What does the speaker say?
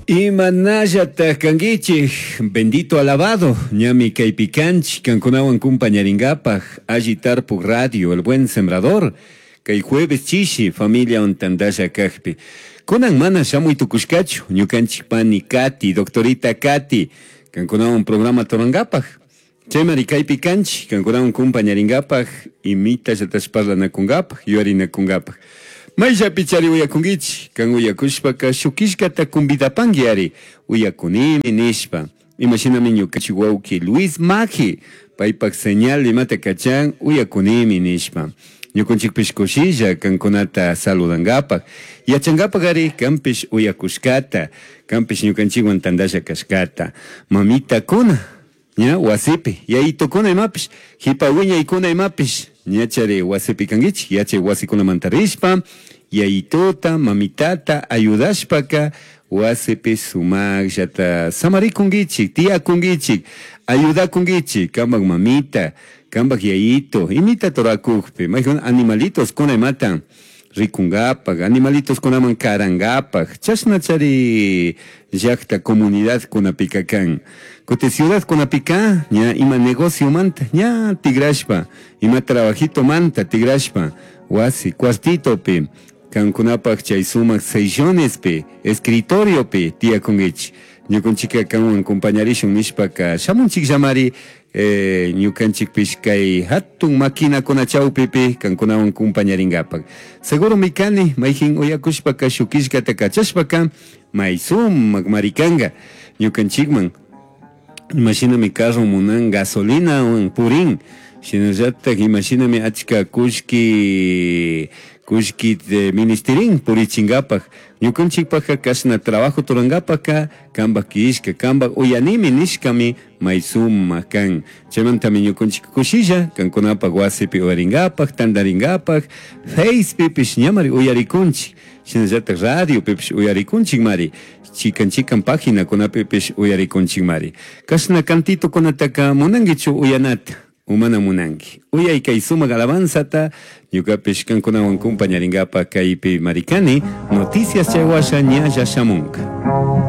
Imanallataq kankichik, bendito alabado, ñami kaypi kanchik kankunawan kumpañaringapaj Alli Tarpuk Radio, El Buen Sembrador, kay jueves chishi familiawan tantalla kajpi. Kunan mana shamuy tukushkachu ñukanchik pani Katy, doctorita Katy, kankunawan programa rurankapaj. Chaymari kaypi kanchik kankunawan kumpañaringapaj imitallatash parlanakunkapaj, yuyarinakunkapaj. Mayllapi chari uyakunkichik, kan uyakushpaka shuk killkata convidapanki ari, uyakunimi nishpa. Imashinami ñukanchik wawki Luis Maji, paypak señal imata kachan uyakunimi nishpa. Ñukanchikpish kushilla kankunata saludankapaj. Yachankapaj ari kanpish uyakushkata, kanpish ñukanchikwan tantalla kashkata. Mamitakuna, ña wasipi, yayitukuna imapish, jipa wiñaykuna imapish, ña chari wasipi kankichik, yachay wasikunamanta rishpa, yayituta, mamitata ayudashpaka wasipi sumaqllata samarikunkichik, tiyakunkichik, ayudakunkichik, kanpak mamita, kanpak yayito, imita turakukpi, mayjun animalitos kuna imata rikunkapak, animalitos kunaman karankapak, chashna chari llakta comunidad kunapika kan. Kuti ciudad kunapika ña ima negocio manta ña tigrashpa, ima trabajito manta tigrashpa, wasi cuartitopi, kankunapak chay sumak sillonespi, escritoriopi tiyakunkichik. Ñukanchikka kanwan compañarishun nishpaka shamunchikllamari ñukanchikpish kay hatun maquinakuna chawpipi kankunawan compañarinkapak. Seguromi kani mayjin uyakushpaka shuk killkata kachashpaka may sumak mari kanka ñukanchikman. Imashinami carro munan gasolinawan purin, shinallatak imashinami achka kullki kullki ministerin purichinkapak. Ñukanchikpaka kashna trabajo turankapaka kanpak killka, kanpak uyanimi nishkami may sumak kan. Chaymantami ñukanchik kushilla kankunapak wasipi uyarinkapak, tantarinkapak, Facepipish ñamari uyarikunchik, shinallatak radiopipish uyarikunchikmari, chikan chikan paginakunapipish uyarikunchikmari. Kashna cantitokunataka munankichu uyanata, o mana munanki. Uyay kay sumak alabanzata, ñukapish kankunawan kumpañarinkapak kaypi marikani, noticias chay washa ñalla shamunka.